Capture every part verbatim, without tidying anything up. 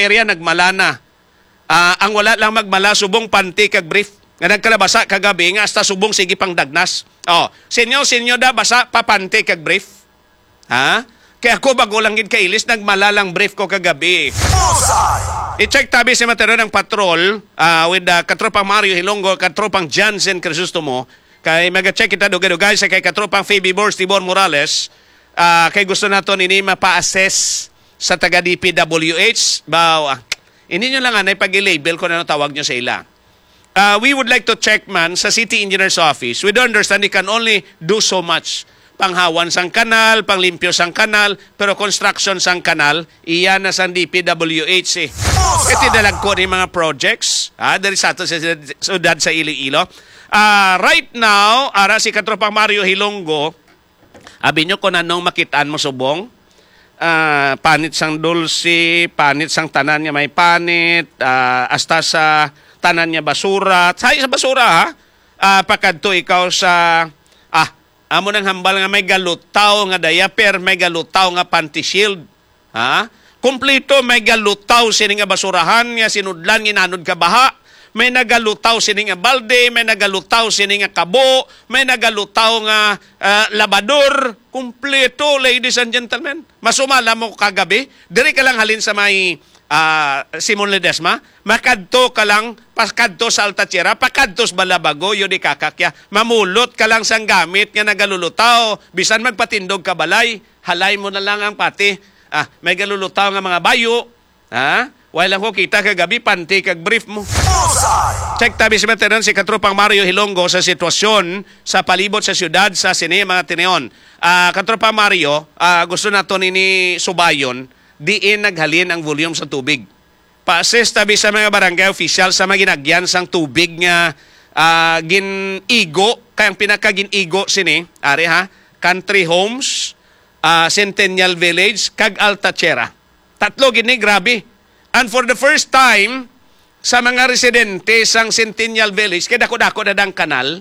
area nagmala na. Ah, ang wala lang magmala, subong panty kag brief. Nga nagkalabasa kagabi nga hasta subong sige pang dagnas. Oh, sinyo, sinyo da basa pa panty kag brief. Ha? Kay ako bago lang gid kailis, nagmala lang brief ko kagabi. Bullseye! I-check tabi si Matero ng patrol ah, with ah, Katropang Mario Hilonggo, Katropang Jansen Crisostomo. Kay maga-check kita dugay-dugay sa kay Katropang Phoebe Bors Tibor Morales. Ah, kay gusto naton ini mapa-assess sa taga D P W H. Baw, ah, hindi nyo lang anay pag-i-label kung ano tawag nyo sa ila. Ah, we would like to check man sa City Engineer's Office. We do understand they can only do so much. Panghawan sang kanal, panglimpyo sang kanal, pero construction sang kanal, iya na sang D P W H eh. Iti dalagko ni mga projects, ah, diri sa ato sa siyudad sa Iloilo. Ah, right now, ara si Katropang Mario Hilonggo, abi nyo kung anong makitaan mo subong? Ah, panit sang dulce, panit sang tanan nga may panit, ah, hasta sa tanan nga basura. Sa, sa basura, ha? Ah, pakadto ikaw sa, ah, amo nang hambal nga may galutaw nga diaper, may galutaw nga panty shield. Ha? Kompleto, may galutaw sini nga basurahan nga sinudlan ginanod ka baha. May nagalutaw sini nga balde, may nagalutaw sini nga kabo, may nagalutaw nga ah, labador, kumpleto, ladies and gentlemen. Masumala mo kagabi, diri ka lang halin sa may ah, Simon Ledesma, makadto ka lang, pakadto sa Alta Tierra, pakadto sa Balabago, yun di kakakya. Mamulot ka lang sang gamit nga nagalulutaw, bisan magpatindog ka balay, halay mo na lang ang pati. Ah, may galulutaw nga mga bayo, ha? Wala lang ko kita kagabi, panty kag brief mo. Bullseye! Check tabi si Matenan, si Katropang Mario Hilonggo sa sitwasyon sa palibot sa siyudad sa sini mga tineon. Ah, Katropang Mario, ah, gusto nato nini subayon, diin naghalin ang volume sa tubig. Pa-assess tabi sa mga barangay official sa mga ginagyan sang tubig nga ah, gin-igo, kay ang pinakagin-igo sini, ari ha, country homes, ah, Centennial Village, kag Alta Tierra. Tatlo gini, grabe. And for the first time, sa mga residente sang Centennial Village, kay dako-dako na dang kanal,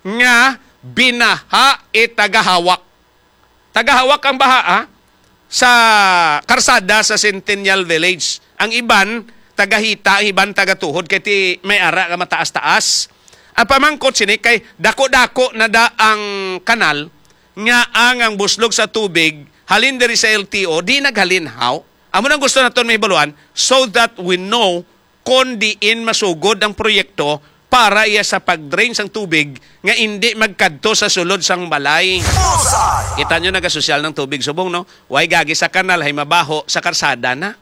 nga binaha it tagahawak. Tagahawak ang baha, ha? Sa karsada sa Centennial Village. Ang iban, tagahita, ang iban, tagatuhod, kay ti may ara nga mataas-taas. Ang pamangkot sini kay dako-dako na da ang kanal nga ang, ang buslog sa tubig halin diri sa L T O, di naghalin, haw? Amo nang gusto naton mahibaluan so that we know kon diin masugod ang proyekto para iya sa pag-drain sang tubig nga indi magkadto sa sulod sang balay. Bullseye! Kita nyo, nagasosyal ng tubig subong, no? Way gagi sa kanal, hay mabaho sa karsada na.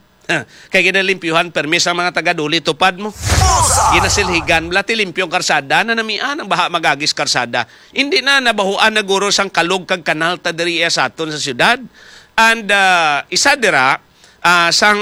Kay ginalimpyuhan permi sa mga taga-Duli, tupad mo. Bullseye! Ginasilhigan, blati limpyong karsada na namian ang baha magagis karsada. Hindi na nabahuan na guro sang kalog kag kanal ta diri iya sa aton sa syudad. And ah, isa dira, ah, sang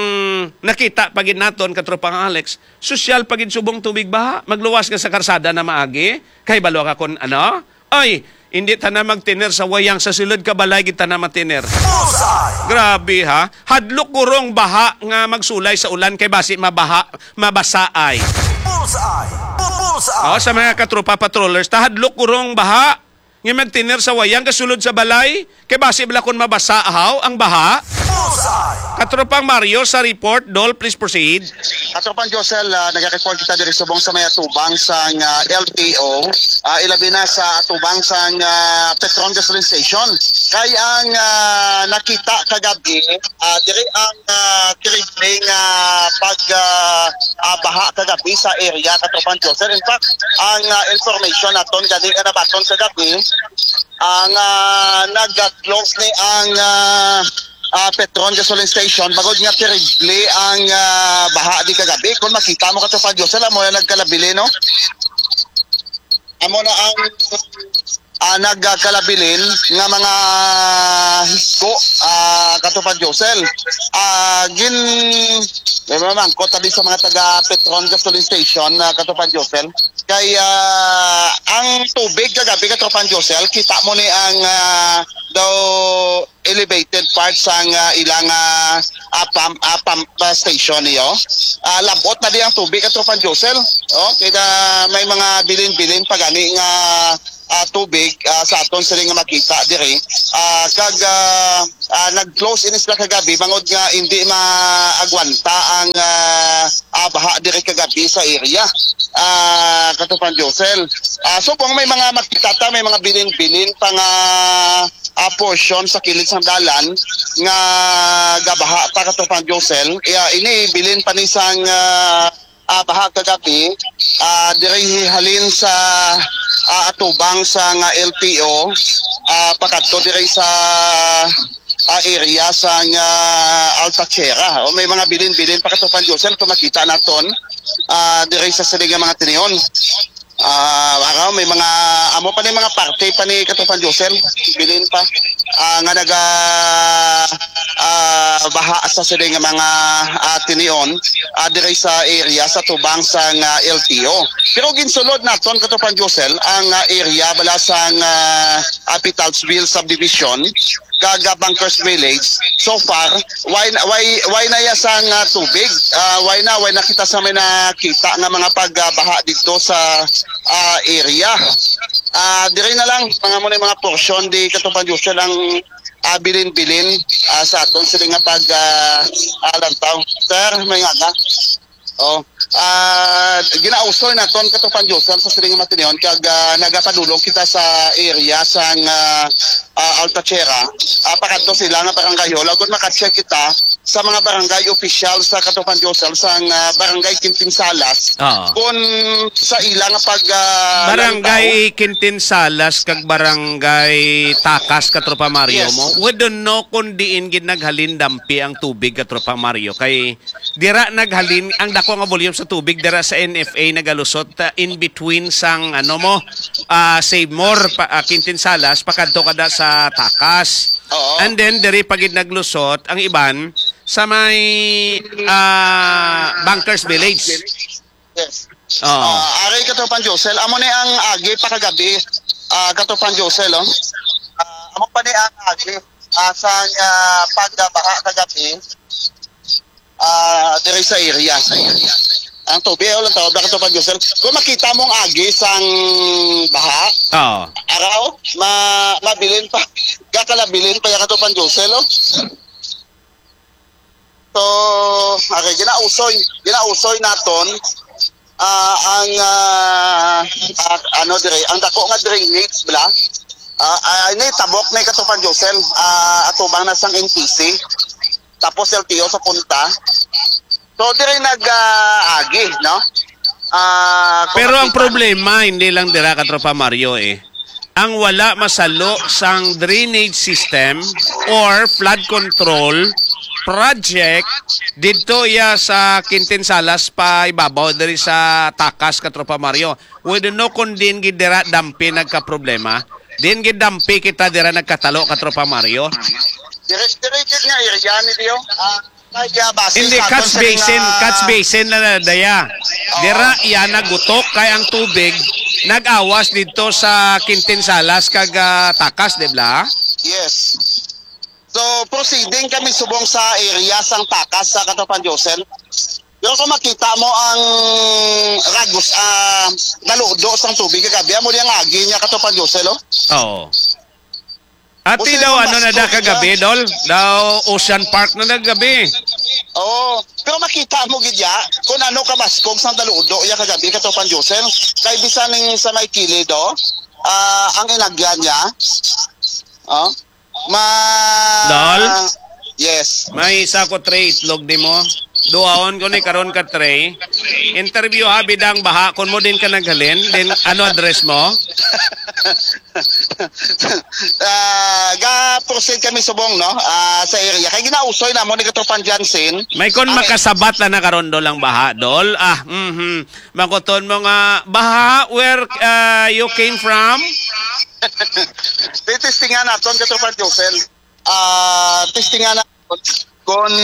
nakita pa gid naton, Katropang Alex, sosyal pa gid subong tubig baha. Magluwas nga sa karsada na maagi. Kay balo ka kon ano? Ay, hindi ta na magtiner sa wayang, sa sulod ka balay gid ta na matiner. Bullseye! Grabe ha. Hadlok gurong baha nga magsulay sa ulan kay basi mabaha, mabasaay. Bullseye! Bu- Bullseye! Oh, sa mga katropa patrollers, ta hadlok gurong baha nga magtiner sa wayang kasulod sa balay, kay basi bala kon mabasa haw ang baha. Bullseye! Katropang Mario sa report, Dol, please proceed. Katropang Josel, ah, nag-report kita diri subong sa may atubang sang ah, L T O, ah, ilabi na sa atubang sang ah, Petron Gasoline Station. Kay ang ah, nakita kagabi, ah, diri ang ah, terrible nga pag ah, ah, baha kagabi sa area, Katropang Josel. In fact, ang ah, information naton gani nga nabaton kagabi, ang ah, nag-close ni ang ah, ah, Petron Gasoline Station, bagod nga terrible ang ah, baha di kagabi. Kung makita mo, Katropang Josel, amo na nagkalabili, no? Amo na ang ah, nagkalabilin nga mga higko, ah, Katropang Josel. Ah, gin may mamangkot tabi sa mga taga Petron Gasoline Station, ah, Katropang Josel. Kay ah, ang tubig kagabi, Katropang Josel, kita mo ni ang ah, daw elevated part sang ah, ilang ah, ah, pump, ah, pump ah, station niyo. Ah, labot na di ang tubig, Katropang Josel. Oh, kaya may mga bilin-bilin pa gani nga ah, tubig, ah, sa aton sila nga makita diri. Ah, kag, ah, ah, nag-close ini sila kagabi bangod nga hindi maagwanta ang, ah, ah, baha diri kagabi sa area. Ah, Katropang Josel. Ah, subong may mga makita ta, may mga bilin-bilin pa nga, ah, portion sa kilid sang dalan nga gabaha pa, Katropang Josel. Iya, ini bilin pa ni sang, ah, ah, baha kagabi, ah, diri halin sa, ah, atubang sa nga L T O, ah, pakadto diri sa, ah, area sa nga Altachera. O, may mga bilin-bilin pa, Katropang Josel, kung makita naton, ah, diri sa sini nga mga tinion. Ah, araw, may mga, amo pa ni mga parte pa ni Katropang Josel, bilin pa, ah, nga naga, ah, baha sa sini nga mga, ah, tinion, ah, diri sa area sa tubang sa nga L T O. Pero ginsulod naton, Katropang Josel, ang, ah, area bala sa nga, ah, Pitalsville Subdivision, kag, ah, Bunkers Village. So far, why, why, why na ya sang, ah, tubig? Ah, why na, why na kita sa may nakita nga mga pagbaha dito sa, ah, area? Ah, diri na lang, mga muna mga portion di Katropang Josel ang, ah, bilin-bilin, ah, sa aton sila nga pag, ah, ah, lantaw. Sir, may nga ka? Oh, ah, ginausoy naton, Katropang Josel, sa siling matinion kag, ah, nagapadulong kita sa area sang, ah, ah, Altachera. Ah, pakadto sila nga barangay hall. Agud maka-check kita sa mga barangay official sa, Katropang Josel, sang, ah, barangay Quintinsalas. Oo. Kung sa ila nga pag, ah, Barangay lantaw. Quintinsalas kag barangay Takas, Katropang Mario, Yes. mo. We don't know kung diin gid naghalin dampi ang tubig, Katropang Mario. Kay Dira naghalin ang dako nga volume sa tubig dira sa N F A nagalusot, ah, in between sang, ano mo, ah, Savemore, pa, ah, Quintinsalas, pakadto kada sa Takas. Oo. And then diri pa gid naglusot ang iban sa may, ah, Bunkers Village. Yes. Oo. Ah, ari, Katropang Josel, amo ni ang agi pa kagabi, ah, Katropang Josel, oh. Ah, amo pa ni ang agi, ah, sa, ah, pagbaha kagabi. Ah, diri sa area. Ang tubig, wala tawag na, Katropang Josel. Kung makita mo ang agi sang baha, Oo. araw, ma-, mabilin pa. Gakalabilin pa yan, Katropang Josel, oh. So, okay, ginausoy, ginausoy naton, ah, ang, ah, ah, ano dire, ang dako nga drainage bala. Ah, ah, ini tabok ni Katropang Josel, ah, atubang na sang N P C. Tapos L T O sa punta. So, dire nag, ah, agi, no? Ah, kung Pero ang makita problema, hindi lang dira, Katropang Mario, eh. Ang wala masalo sang drainage system or flood control project didto iya sa Quintinsalas pa ibabaw diri sa Takas, Katropang Mario. We don't know kung diin gid dira dampi nagkaproblema. Diin gid dampi kita dira nagkatalo, Katropang Mario. Dire, dire gid nga area ni Dio. Ah, kaya base Hindi, sa aton catch sa basin, mga catch basin na, na daya. Oo. Dira iya nagutok kay ang tubig nag-awas didto sa Quintinsalas kag, ah, Takas, di ba? Yes. So, proceeding kami subong sa area sang Takas sa Katropang Josel. Pero kung makita mo ang ragos, ah, naludo sang tubig kagabi, amo di ang agi niya, Katropang Josel, oh. Oo. Ati Jose daw, ano na da Mascog kagabi, siya. Dol? Daw Ocean Park na naggabi. Oo. Pero makita mo gid ya kung ano ka maskog sang daludo ya kagabi, Katropang Josel. Kay bisan ning sa may kilid, oh, ah, ang inagyan niya. Oh. Ma Dol? Yes. May isa ko tray itlog di mo. Duhaon ko ni karon ka tray. Interview ha bidang baha kon mo din ka naghalin, then ano address mo? Ah, ga proceed kami subong, no? Ah, sa area. Kay ginausoy na mo ni Katropang Jansen. May kon Ang makasabat na na karon, Dol, ang baha, Dol. Ah, mhm. Makuton mo nga, baha, where, ah, you came from? Titistingan naton, Katropang Josel. Ah, testingan naton kung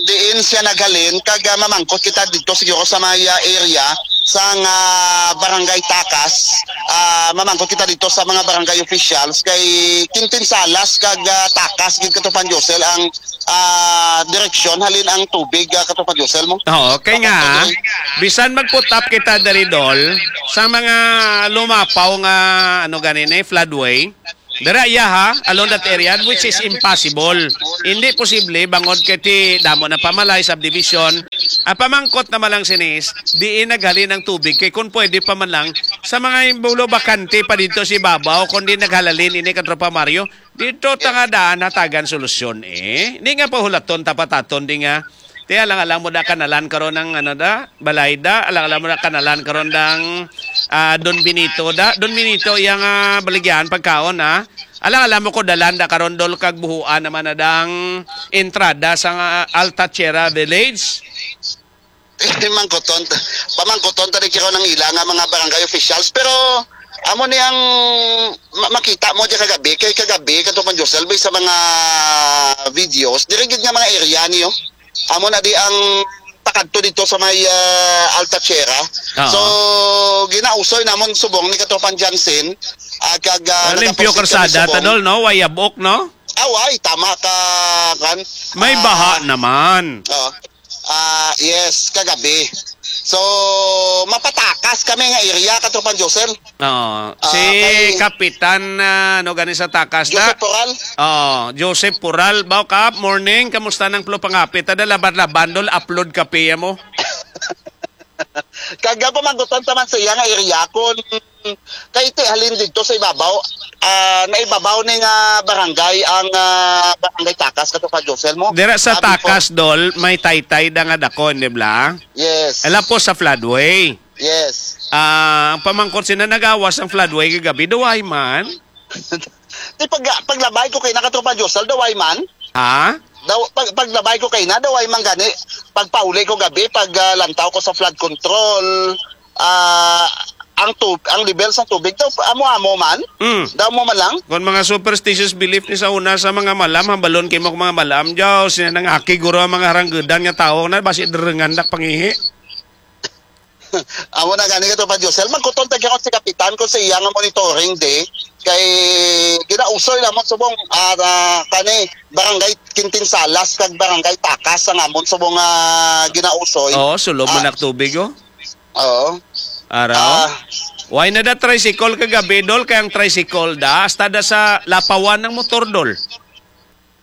diin siya naghalin, kag, ah, mamangkot kita dito siguro sa may, ah, area. sang, ah, Barangay Takas, ah, mamangkot kita dito sa mga barangay officials kay Quintin Salas kag, ah, Takas gid, Katropang Josel, ang, ah, direksyon halin ang tubig, ah, Katropang Josel mo. Oo, kay nga, bisan mag-put up kita diri, Dol, sa mga lumapaw nga, ano gani ni, floodway, dira iya, ha, along that area, which is impossible. Hindi posible, bangod kay ti damo na pamalay, subdivision. Ang pamangkot naman lang sinis, diin naghalin ang tubig, kay kung pwede pa man lang, sa mga imbulo bakante pa dito si babaw, kung di naghalalin ini, Katropa Mario, dito ta nga daan hatagan solusyon, eh. Hindi nga pahulaton, tapataton, di nga. Ti, alang-alang mo da kanalan karon ng, ano da, balay da, alang-alang mo da kanalan karon dang, ah, Don Benito da. Don Benito, iya nga baligyan pagkaon, ha. Alang-alang mo ko dalan da karon, Dol, kag buhuan naman na dang entrada sa nga Alta Tierra Village. Mangkuton, pamangkuton ta rin karon ang ila nga mga barangay officials. Pero amo ni ang ma-, makita mo di kagabi, kay kagabi, Katropang Josel, sa mga videos, diri gid nga mga area niyo. Amo na di ang pakadto dito sa may, ah, Alta Tierra. Oo. So, ginausoy namon subong ni Katropang Jansen, ah, kag, ah, Ah, limpyo nagaposted kami karsada, subong. Tadol, no? Way abok, no? Ah, way, tama ka, kan. May Ah, baha naman. Oo. Ah, yes, kagabi. So, mapatakas kami nga area, Katropang Josel. Oo. Ah, Si kay Kapitan, ah, ano gani sa takas na? Joseph Poral. Oh, Joseph Poral. Baw, Kap, morning. Kamusta nang Plo Pangapit? Ada laban-laban, Dol, upload kape mo. Kag pamangkuton ta man sa iya nga area kung kay ti halin dito sa ibabaw, ah, naibabaw ni nga barangay ang, ah, barangay Takas, Katropang Josel mo. Dira sa Ah, before Takas, Dol, may taytay da nga dako, di ba? Yes. Ala po sa floodway. Yes. Ah, ang pamangkot sina nagawas ang floodway kagabi, duway man. Di pag, paglabay ko kay na, Katropang Josel, daway man. Ha? Daw, pag, paglabay ko kay na, daway man gani. Pagpauli ko gabi, pag, ah, lantaw ko sa flood control, ah, ang tub-, ang level sa tubig daw, amo-amo man. Mm. Daw mo man lang. Kon mga superstitious belief ni sa una sa mga malam, hambalon kay mo mga malam, jaw, sina nang aki guro ang mga haranggudan nga tawo na, basi drengan dak pangihi. Amo na gani, Katropang Josel. Magkuton ta gyapon si Kapitan kung sa iya nga monitoring di. Kay ginausoy namon subong, ah, ah, kani, Barangay Quintin Salas kag Barangay Takas ang amon subong, ah, ginausoy. Oo, sulod man Ah, ang tubig, oh. Oo. Araw? Ah. Why na da tricycle kagabi, Dol? Kay ang tricycle da, hasta da sa lapawan ng motor, Dol.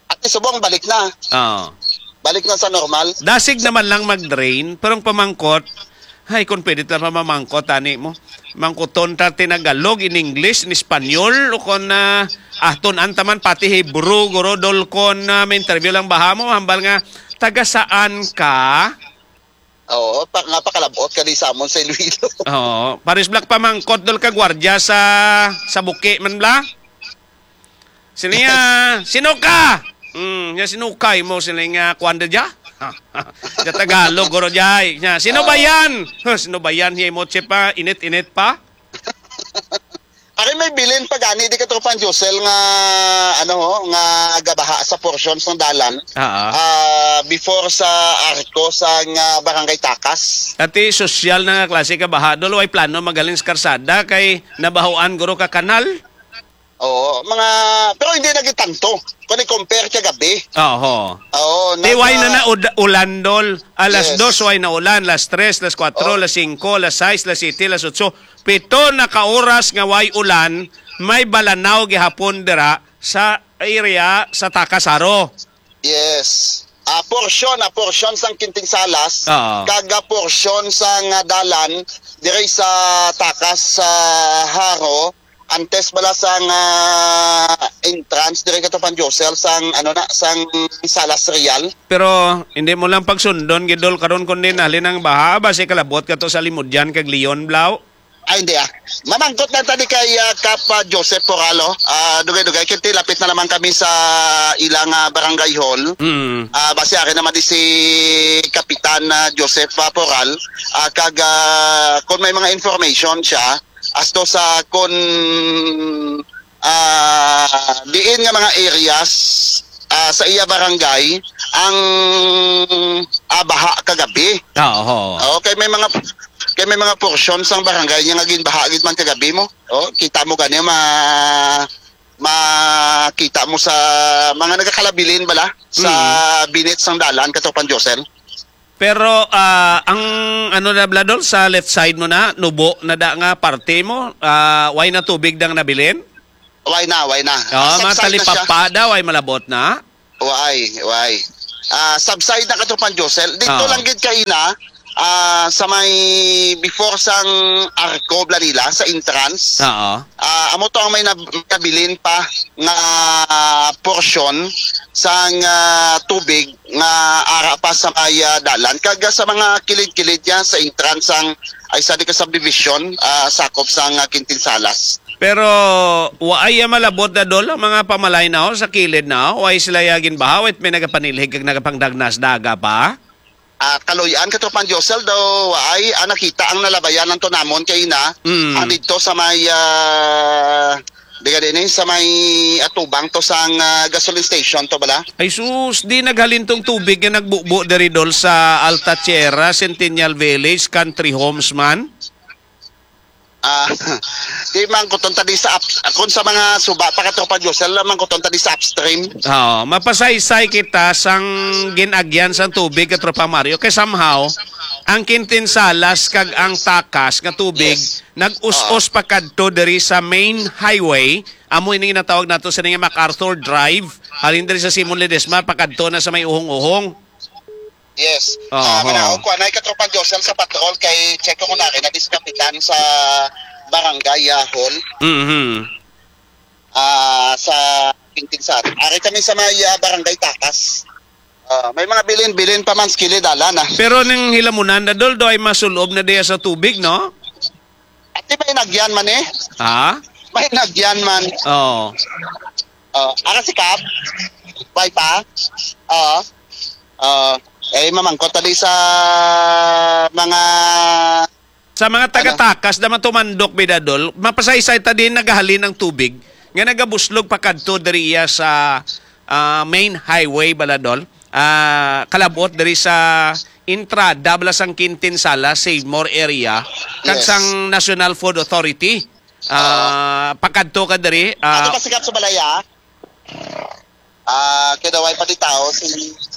At subong balik na. Oo. Balik na sa normal. Dasig naman lang mag-drain, pero ang pamangkot, ay, kung pwede ta pa mamangkot, ani mo. Mangkuton ta tinagalog, in English, in Espanyol, o kung, ah, ah, tun-an ta man pati Hebrew, guro, Dol, kung, ah, may interview lang baha mo, hambal nga, taga saan ka? Oo, pa, nga pakalabot ka di sa amon sa Iloilo. Oo. Paris Black pamangkot, Dol, ka gwardiya sa, sa Buki man, bla? Sino niya? Sino ka? Hmm, niya, sino kay mo? Sino nga, kuwan da dya? Sa Tagalog, guro, jay. Niya, sino ba Oo. yan? Huh, sino ba yan? Hiya mo, chip, ah, init-init pa? Ari may bilin pa gani di, Katropang Josel, nga, ano, ho, nga gabaha sa portion sang dalan. Ah, ah. Ah, before sa arko sang, ah, Barangay Takas. Ati, sosyal na nga klase ka baha, Dol, way plano magaling sa karsada kay nabahoan guro ka kanal. Oo, mga, pero hindi na gitanto. Kung i-compare kagabi. Oho. Oo, Di, way na nasa na ud-, ulan, Dol. Alas Yes. dos, way na ulan. Alas tres, alas kuwatro, Oh. alas singko, alas sais, alas siyete, alas otso. Pito na ka oras nga way ulan, may balanaw gihapon dira sa area sa Takasaro. Yes. Ah, portion, ah, portion sang Kinting Salas, Oo. kag, ah, portion sang, ah, dalan diri sa Takas, sa Haro, antes bala sang, ah, entrance diri, Katropang Josel, sang, ano na, sang Salas Real. Pero hindi mo lang pagsundon, gidol, karon kundi nalin ang baha, basi kalabot ka to sa Limudyan kag Leon, Blau. Ay, hindi, ah. Mamangkot na tani kay, ah, Kap, ah, Joseph Poralo. Ah, dugay-dugay, kinti lapit na naman kami sa ilang, ah, barangay hall. Mm. Ah, basi ari naman di si Kapitan, ah, Joseph, ah, Poral. Ah, kag, ah, kung may mga information siya, asto sa kung, ah, diin nga mga areas, ah, sa iya barangay ang, ah, baha kagabi. Ah, oho. Okay, may mga Kay may mga portion sang barangay niya nga ginbaha gid man kagabi mo. Oh, kita mo gani, ma-, makita mo sa mga nagakalabilin bala sa Mm. binit sang dalan, Katropang Josel. Pero, ah, ang ano na bala, Dol, sa left side mo na, nubo na da nga parte mo, ah, way na tubig dang nabilin? Way na, way na. Oh, Subside na siya. Talipapa daw ay malabot na. Way, way. Ah, subside na, Katropang Josel. Dito Ah. lang gid kaina, ah, sa may before sang Arco Blanila, sa entrance. Oo. Ah, amo to ang may nab-, nabilin pa nga portion sang, ah, tubig nga ara pa sa may, ah, dalan. Kag sa mga kilid-kilid niya sa entrance sang Aysadica Subdivision, ah, sakop sang, ah, Quintin Salas. Pero waay ya malabot na, Dol, ang mga pamalaynaw sa kilid na, waay sila ya ginbaha, wait, may nagapanilhig kag nagapangdagnas daga pa? Ah, kaluy-an, Katropang Josel, daw waay, ah, nakita ang nalabayan lang to namon kay na, Mm. ang didto sa may, ah, di ka din eh, sa may atubang to sang, ah, gasoline station to bala. Ay sus, di naghalin tong tubig nga nagbubo diri, Dol, sa Alta Tierra, Centennial Village, Country Homes man? Ah, di man kuton ta di sa up-, kung sa mga suba pa, Katropang Josel, man kuton ta di sa upstream. Oo, mapasaysay kita sang gin-agyan sang tubig, Katropang Mario, kay somehow ang Quintin Salas kag ang takas nga tubig Yes. nag-us-us Oo. pa kadto diri sa main highway, amo ini ginatawag nato sa nga MacArthur Drive, halin diri sa Simon Ledesma pakadto na sa may uhong-uhong. Yes. Oo. Ah, manaog ko, anay, Katropang Josel, sa patrol kay check ko na rin na si kapitan sa barangay, ah, hall. Mhm. Ah, sa Quintin Sat. Ari kami sa may, ah, barangay Takas. Ah, may mga bilin-bilin pa man sa kilid, ala na. Pero ning hilamunan na, Dol, do ay masulob na diya sa tubig, no? Ati may nagyan man eh. Ha? May nagyan man. Oo. Oh, ara si Kap. Bay pa. Oo. Oo. Eh, mamangkot tali sa mga Sa mga Ano? taga-takas na matumandok, bida, Dol, mapasaysay ta din nagahalin ang tubig nga nagabuslog pa kadto diri iya sa, ah, main highway, bala, Dol. Ah, kalabot diri sa entrada, bala, sang Quintin Sala, Savemore area, kag Yes. sang National Food Authority. Ah, pakadto ka diri, Ano ah, ka sikat sa balaya? Ah, kay daw ay pati tao si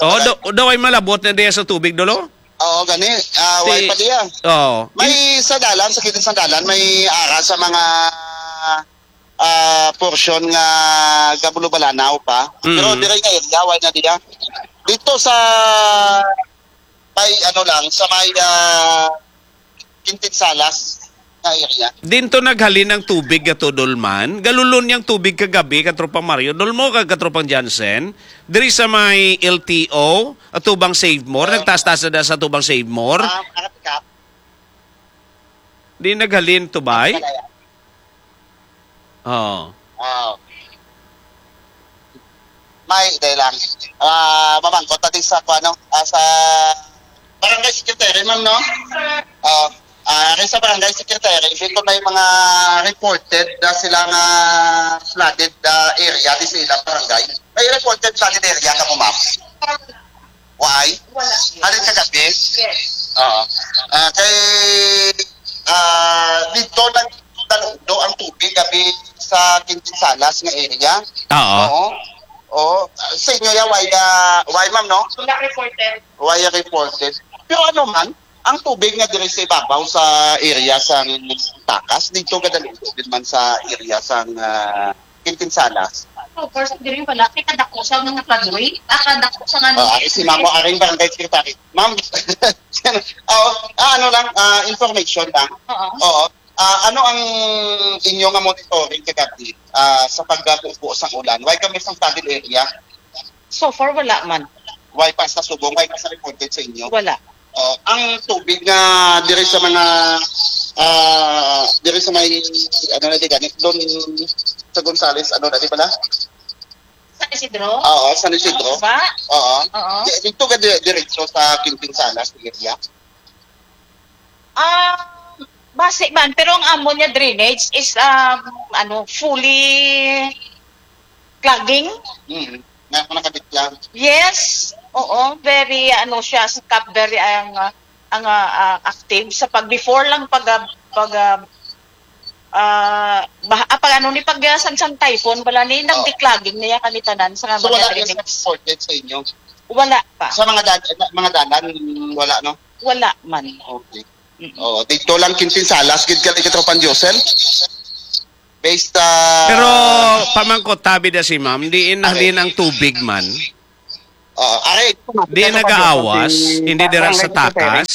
Oo, do, daw ay malabot na diya sa tubig, Dolo? Oo, gani. Ah, Si way pa diya. Oo. May In- sa dalan, sa kilid sa dalan, may ara sa mga, ah, portion nga gabulo-balanaw pa. Mm. Pero dire nga area, way na diya. Dito sa may ano lang, sa may, ah, Quintin Salas na area. Dinto naghalin ang tubig, Kato Dolman. Galulon niyang tubig kagabi, Katropang Mario. Dolmo kag Katropang Jansen. Diri sa may L T O, atubang Save More. Ah. Nagtaas-taas na sa atubang Save More. Ah, nakatikap. Di naghalin to, bay? Kalaya. Oo. Ah. May, dahil lang. Ah, mamangkot natin sa, kung ano, ah, sa barangay secretary, ma'am, no? Ah, ah, kay sa barangay secretary, dito may mga reported na sila nga flooded, ah, area di sa ilang barangay. May reported flooded area ka mo, ma'am? Why? Wala. Halin kagabi? Yes. Oo. Ah, kay, ah, dito nagtaludo ang tubig gabi sa Quintin Salas nga area. Oo. Oo. Oo. Ah, sa inyo ya, why, ah, why, ma'am, no? Wala reported. Why reported? Pero ano man, ang tubig nga diri sa ibabaw sa area sang Takas, dito gadaludo din man sa area sang, ah, Quintin Salas. Of course, diri wala kay kadako sa mga floodway. Ah, kadako sa nga Ah, ari si Ma'am, aring barangay secretary. Ma'am, oh, ah, ano lang, ah, information lang. Oo. Oo. Ah, ano ang inyo nga monitoring kagabi, ah, sa pagkabubo sang ulan? Why kami sa flooded area? So far, wala man. Why pa sa Subong? Why pa sa reported sa inyo? Wala. Oh, ang tubig nga diri sa mga, ah, diri sa may, ano na di gani, doon sa Gonzales, ano na di pala? San Isidro? Oo, San Isidro. Ang uba? Oo. Oo. Di, dito ka di, diretso sa Quintin Salas area? Ah, basi man, pero ang amon nga drainage is, um, ano, fully clogging. Mm. Nga ako nakadiklar. Yes. Oo, very, ano siya, sa Cap Verde ang, ah, ang, ah, ah, active sa pag, before lang pag, ah, pag, ah, ah, bah-, ah, pag ano ni, pag, ah, sang, sang typhoon, wala ni, Oh. nagdiklaging niya kami tanan sa So, wala mga niya sa reported sa inyo? Wala pa. Sa mga dal-, mga dalan, wala, no? Wala man. Okay. Mm-mm. Oh, dito lang Kintinsalas, gid ka, Katropang Josel? Based, ah, Pero pamangkot, tabi na si ma'am, diin Okay. halin ang tubig man? Oo, aray, ito nga, Di ito pa, nagaawas, si hindi dira sa Barangay Secretary. takas?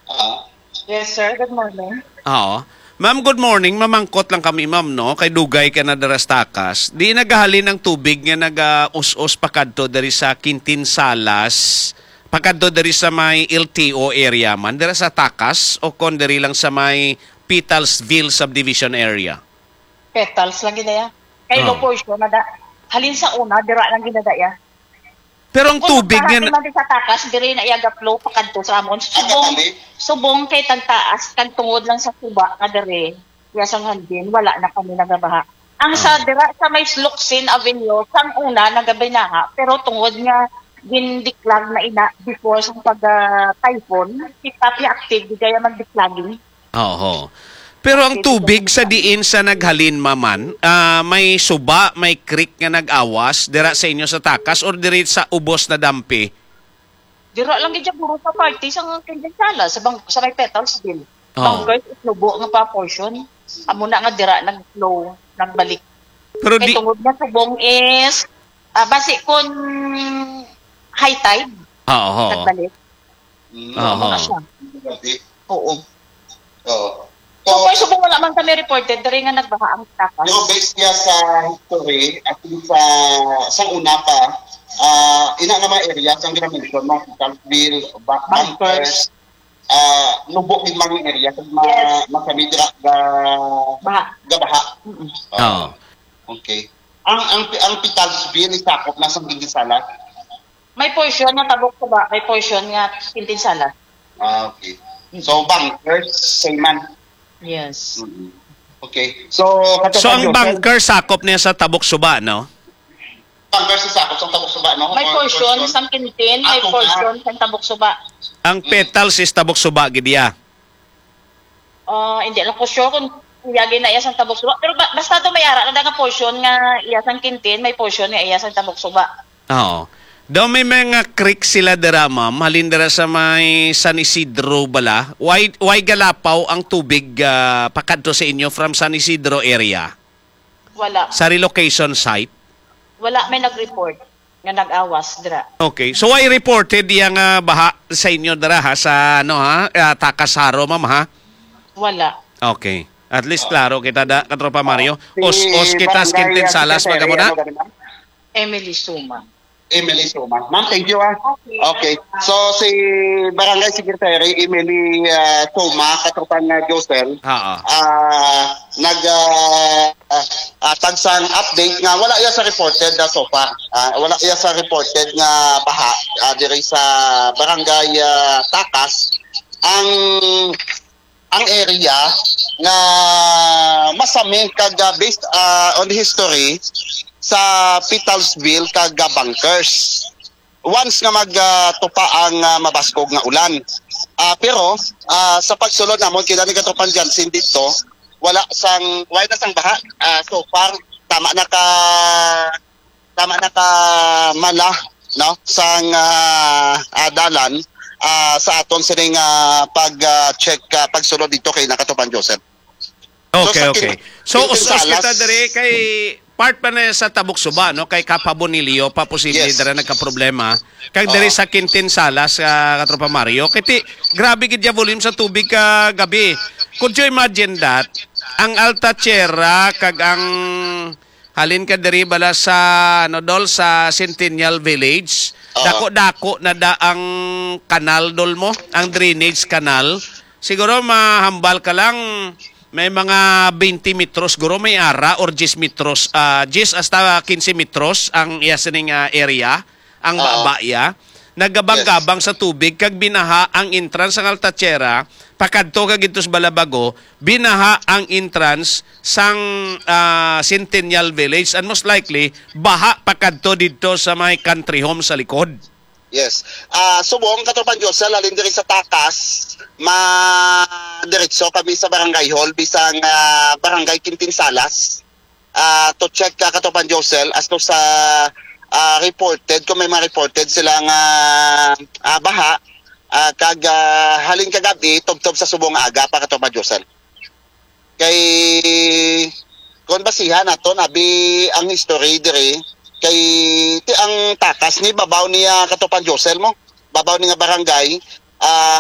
Ah. Yes, sir. Good morning. Oo. Ma'am, good morning. Mamangkot lang kami, ma'am, no? Kay dugay ka na dira sa takas. Di nagahalin ang tubig nga naga-us-us pakadto diri sa Quintin Salas, pakadto diri sa may L T O area man, dira sa takas o kon diri lang sa may Petalsville Subdivision area? Petals lang gid ya. Kay Oh. low portion na da. Halin sa una, dira lang gid na da ya. Pero ang Kung tubig nga nagpahati na man di sa takas, diri na iya ga-flow pakadto sa amon. Subong, Agakali? subong kay tagtaas, kag tungod lang sa suba nga diri, iya sang hangin, wala na kami nagabaha. Ang sa Ah. dira sa may Locsin Avenue, sang una nagabinaha, pero tungod nga gindiklag na ina before sa pag, ah, typhoon, si Papi active, di kaya magdiklaging. Oo. Pero ang Pwede tubig ka sa magsabi. diin sa naghalin, maman, ah, may suba, may creek nga nag-awas dira sa inyo sa takas or diri sa ubos na dampi? Dira lang gid siya, guro, sa party sa Quintin Sala, sa bang-, sa may Petals din. Oo. Bangkers, Itnubo nga pa portion. Amo na nga dira nag-flow, nagbalik. Pero Kay di tungod na subong is, ah, basi kun high tide, Oo. nagbalik. Mm. Oo. Ano na siya? Grabe. Oo. Oo. So, So, for subong wala man kami reported, diri nga nagbaha ang takas. Pero based niya sa history, at least sa, sa una pa, ah, ina nga mga area, sa ginamention mo, Townsville, Ba-, Bancor. Bancor, ah, Nubo, yung mga area, sa mga, Yes. mga kami dira, ga-, Baha. gabaha. Mm-mm. Oo. Oo. Okay. Ang, ang, ang Pitalsville, isakop na sa Gingisala? May portion nga Tabok Suba, may portion nga Quintin Sala. Ah, okay. Mm. So, Bancor, same man. Yes. Mm-mm. Okay. So, So, ang Katropang Josel, Bancor sakop niya sa Tabok Suba, no? Bancor sa sakop sa Tabok Suba, no? May Or portion portion? sa Quintin, may Ah, Suba. portion sa Tabok Suba. Ang Mm. Petals is Tabok Suba, gid iya. Ah, hindi lang ko sure kung iya gid na iya sang Tabok Suba. Pero ba-, basta to may ara na nga portion nga iya sang Quintin, may portion nga iya sang Tabok Suba. Oo. Daw may mga creek sila dira, ma'am. Halin dira sa may San Isidro bala. Why, why galapaw ang tubig, ah, pakadto sa inyo from San Isidro area? Wala. Sa relocation site? Wala may nag-report nga nag-awas dira. Okay. So, why reported iya nga baha sa inyo dira, ha? Sa, ano, ha? Ah, Takasaro, ma'am, ha? Wala. Okay. At least klaro kita da, Katropa Mario. Si Os-os kita sa Barangay Quintin Salas, Secretary, magamo na. ano ka rin, ma'am? Emily Suma. Emily Suma. Ma'am, thank you, ah. Okay. Okay. So, si Barangay Secretary Emily, ah, Suma, Katropang, ah, Josel, Oo. ah, nag, ah, ah, ah, tagsang update nga wala iya sa reported na so far. Ah, wala iya sa reported nga baha, ah, diri sa Barangay, ah, Takas. Ang, ang area nga masami kag, ah, based, ah, on history sa Pitalsville kag, ah, Bancor. Once nga mag, ah, tupa ang, ah, mabaskog nga ulan. Ah, pero, ah, sa pagsulod namon, kay ni Katropang Jansen dito, wala sang, wala na sang baha. Ah, so far, tama na ka, tama na ka mala, no? Sang, ah, ah, dalan, ah, sa aton sining, ah, pag, ah, check, ah, pagsulod dito kay ni Katropang Josel. So, Okay, sa okay. Quin-, So, Quintin us-us kita Salas. diri kay part pa na sa Tabok Suba, no? Kay Kapa Bonilio pa posible Yes. dira nagkaproblema. Kag diri Oo. sa Quintin Salas, ah, Katropa Mario. Kay ti-, grabe gid ya volume sa tubig ka gabi. Could you imagine that? Ang Alta Tierra kag ang halin ka diri bala sa, ano, Dol, sa Centennial Village. Oo. Dako-dako na da ang kanal, Dol, mo, ang drainage canal. Siguro mahambal ka lang, may mga twenty metros, siguro may ara, or diyes metros, ah, diyes hasta quince metros ang iya sining, ah, area, ang Oo. baba iya. Nagabang-gabang Yes. sa tubig, kag binaha ang entrance sang Alta Tierra, pakadto kag dito sa Balabago, binaha ang entrance sang, ah, Centennial Village, and most likely, baha pakadto dito sa may country home sa likod. Yes. Ah, subong, Katropang Josel, halin diri sa Takas, ma diretso kami sa barangay hall, bisang ah, barangay Quintinsalas. Ah, to check ka, Katropang Josel, as to sa ah, reported, kung may mga reported sila nga ah, baha, ah, kag ah, halin kagabi, tubtob sa subong aga pa, Katropang Josel. Kay kung basihan naton abi ang history diri, kay ti ang Takas ni babaw niya, Katropang Josel, mo, babaw ni nga barangay, ah,